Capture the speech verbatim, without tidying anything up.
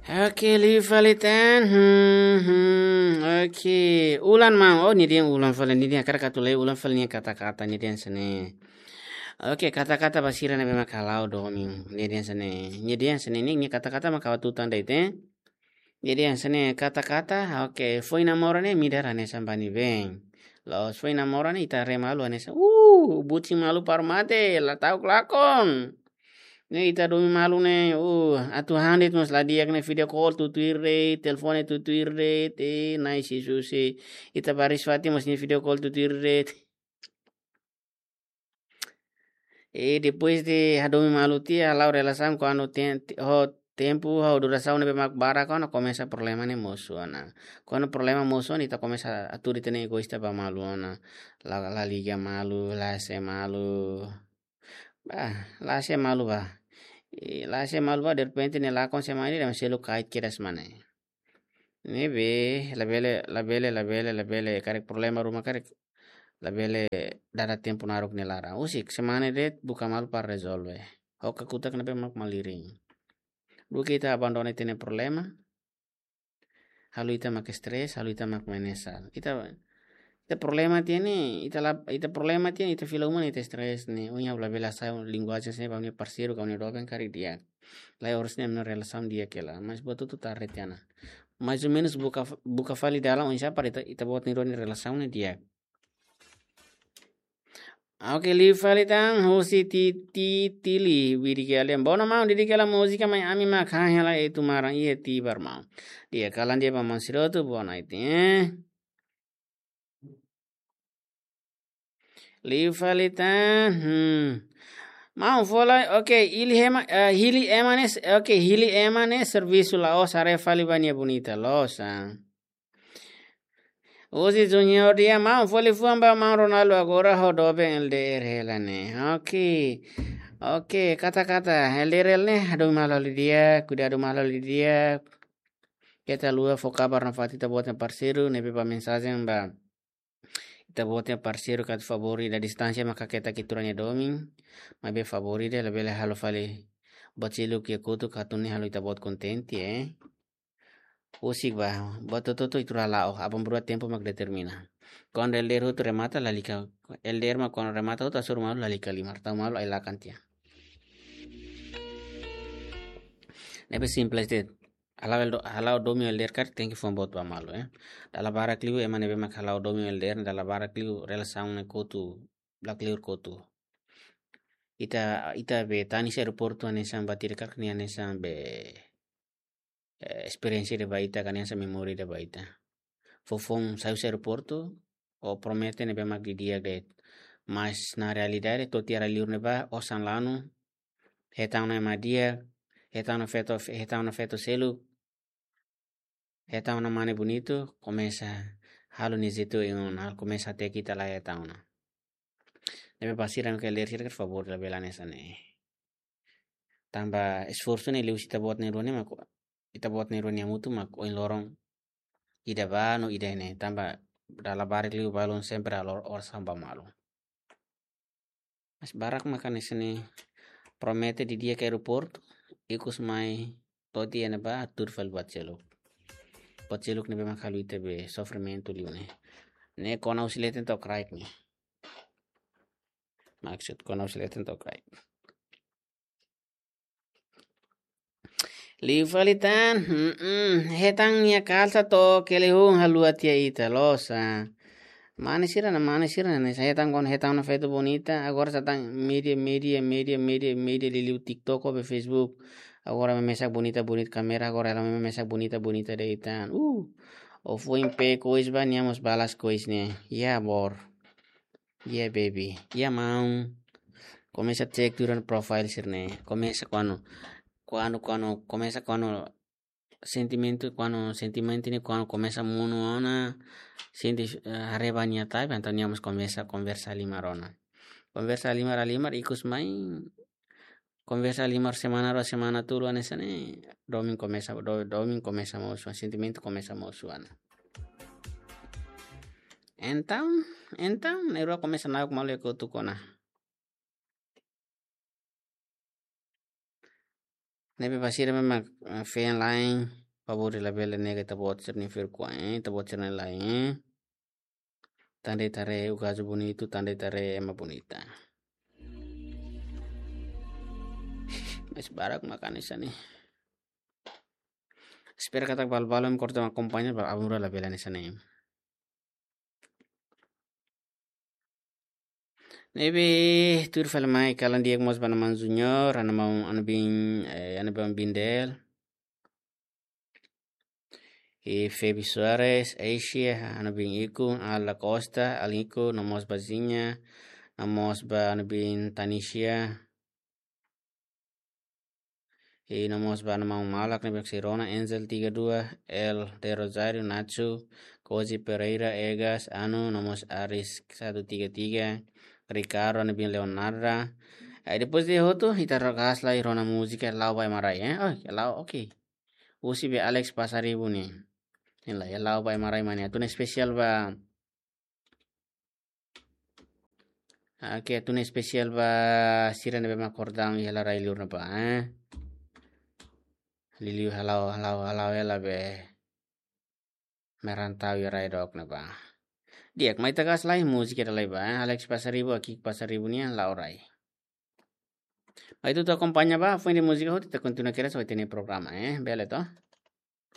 Oke, liu fali tan. Hmm, hmm, oke. Ulang maun. Oh, nia dehan ulang fali, nia dehan karik atu lee ulang fali nia kata-kata, nia dehan hanesan ne'e. Oke, kata-kata ba sira ne'ebé mak hala'o domin. Nia dehan hanesan ne'e. Nia dehan hanesan ne'e, nia, nia kata-kata mak ha'u tutan de'it, eh. Nia dehan hanesan ne'e, kata-kata, oke, foin namora ne'e midar hanesan ba ne'ebé. La'ós foin namora ne'e ita haree malu hanesan, uh, butin malu para mate, la ta'uk lakon. Ne'e ita domin malu ne'e, uh, atu han de'it mós la di'ak ne'e, video call tutuir de'it, telefone tutuir de'it, eh, nai si susi. Ita baris fatin mós ne'e video call tutuir de'it. Eh, depois de hadomi malu tiha, hala'o relasaun kuandu tem-, te-, ho tempu, ho durasaun ne'ebé mak barak ona, komesa problema ne'e mosu ona. Kuandu problema mosu ona, ita komesa atu de'it tan egoísta ba malu ona. La, la liga malu, la hase'e malu. Ba, la hase'e malu ba. Eh, la hase'e malu ba, derrepente ne'e lakon semana ida, mak seluk kait kedas mana. Ne'ebé, labele, labele, labele, labele, karik problema ruma karik. Labele dada tempu naruk nia laran. Husik, semana de'it buka malu para rezolve. Ho kakutak ne'ebé mak malirin. Duké ita abandona ita-nia problema. Halo ita mak stres, halo ita mak menyesal. Ita, ita problema tiha ne'e, ita la, ita problema tiha ne'e, ita fila uma ne'e, ita stres ne'e. Ohin ha'u labele hasa'e linguajen hanesan ne'e ba ha'u-nia parseiru, ka ha'u-nia doben karik di'ak. Lae, harusnya ami-nia relasaun di'ak hela. Mas buat hotu-hotu ita haree tiha ona. Mais ou menus buka, buka fali dalan oinsá para ita, ita-boot nia relasaun ne'e di'ak. Oke, liu fali tan husi Titi Tili, Widi Galian. Bono maun, Didi Galian múzika mai ami mak han hela iha Tumaran, iha Tibar maun. Di'ak, kalan di'ak ba maun sira hotu, boa noite, eh. Liu fali tan, hmm. Maun fó lai, oke, hili ema, eh, hili ema ne'e, oke, hili ema ne'e servisu la'ós, haree fali ba nia bonita, loos, ah. Husi Junior dehan maun fó liafuan ba maun Ronaldo agora ho doben L D R hela ne'e. Oke. Oke, kata-kata L D R hela ne'e, hadomi malu halo di'ak, kuidadu malu halo di'ak. Keta haluha fó kabar nafatin ita-boot nia parseiru, ne'ebé ba mensajen ba ita-boot nia parseiru katak favór ida distánsia maka ketak ita-nia domin. Maibé favór ida labele halo fali buat seluk iha kotuk atu nune'e halo ita-boot kontente, eh. Husik ba, buat hotu-hotu ita hala'o, aban-bainrua tempu mak determina. Kuandu L D R hotu remata lalika, L D R mak kuandu remata hotu hasoru malu lalika halimar, tau malu ai-lakan tiha. Ne'ebé simples de'it. Hala'o L D R, hala'o domin L D R karik tenke fó buat ba malu, eh. Dala barak liu ema ne'ebé mak hala'o domin L D R, dala barak liu relasaun ne'e kotu, la kleur kotu. Ita, ita be tanis aeroportu hanesan ba ita karik nia hanesan be eh, esperiénsia ida ba ita, ka hanesan memória ida ba ita. Foufoun sai husi aeroportu, ó promete ne'ebé mak di'ak de'it. Mas na realidade, to'o tiha rai-liur ne'ebá, osan lanu, hetan ona ema di'ak, hetan ona feto, hetan ona feto seluk, hetan ona mane bonitu, komesa halo nia jeitu oin ona, komesa hateke ita la hetan ona. Ne'ebé ba sira ne'ebé L D R sira karik favór labele hanesan ne'e. Tanba esforsu ne'e liuhusi ita-boot nia rua ne'e mak, ita-boot nia rua nia hamutuk mak ohin loron ida ba no ida ne'e. Tanba dala barak liu balun sempre halo or-, orasaun ba malu. Mas barak maka hanesan ne'e promete di'ak iha aeroportu, ikus mai to'o tiha ne'ebá tuur fali buat seluk. Buat seluk ne'ebé mak halo ita be sofrimentu liu ne'e. Ne'e kona husi leten to'o kraik ne'e. Maksud kona husi leten to'o kraik. Liu fali tan, mm-mm, hetan nia kalsa to'o kelehun haluha tiha ita, loos, ah. Mane sira-ne'e, mane sira-ne'e, sa hetan kuandu hetan ona feto bonita, agora sa tan media, media, media, media, media, liuliu TikTok ou be Facebook. Agora mesak bonita, bonita kámera, agora ema mesak bonita, bonita de'it tan. Uh, ó foin pee kois ba, nia mós balas kois ne'e. Ya, bor. Ya, baby. Ya, maun. Komesa cek tuir profile sira-ne'e. Komesa kuandu, kuandu, kuandu, komesa kuandu sentimentu, kuandu sentimentu ne'e kuandu komesa monu ona, sente, eh, haree ba nia taipe, entaun nia mós komesa konversa halimar ona. Konversa halimar, halimar, ikus mai, konversa halimar semana rua, semana tolu hanesan ne'e, domin komesa, do-, domin komesa mosu, sentimentu komesa mosu ona. Entaun, entaun, na'in-rua komesa na'ok malu iha kotuk ona. Ne'ebé ba sira ne'ebé mak, eh, feen lain, favór labele nega ita-boot sira-nia firkua, eh, ita-boot sira-nia lain, eh. Tan de'it haree ukazia bonitu, tan de'it haree ema bonita. Mas barak mak hanesan ne'e. Espera katak balu-balu mak korta mak akompaña ba abura labele hanesan ne'e. Ne'ebé tuir fali mai kalan di'ak mós ba Ana Maun Junior, Ana Maun, Ana Bin, eh, Ana Bin Bindel. I Febi Soares, Asia, Ana Bin Iku, Ala Costa, Aliko, no mós ba Zinha, no mós ba Ana Bin Tanisia. I no mós ba Ana Maun Malak ne'ebé mak sei rona, Angel tiga dua, El de Rosario, Nacho, Cosi Pereira, Egas, Anu, no mós Aris satu tiga tiga, Ricardo, Ana Bin Leonarda. Ai, depois de hotu, ita ro gas lai rona múzika La'o ba Ema Rai, eh? Oh, La'o, oke. Husi be Alex Pasaribu nian. Inilah ya, La'o ba Ema Rai mak ne'e. Atu ne'e espesiál ba Oke, atu ne'e espesiál ba sira ne'ebé mak kordang iha rai liur ne'ebá, eh. Liuliu hala'o, hala'o, hala'o hela be merantau iha rai dook ne'ebá. Di'ak, mai ita gas lai múzika ida lai ba, eh. Alex Pasaribu, Akik Pasaribu nian La'o Rai. Mai ita akompaña ba, foin de'it múzika hotu, ita kontinua kedas ho ita-nia programa, eh. Bele to?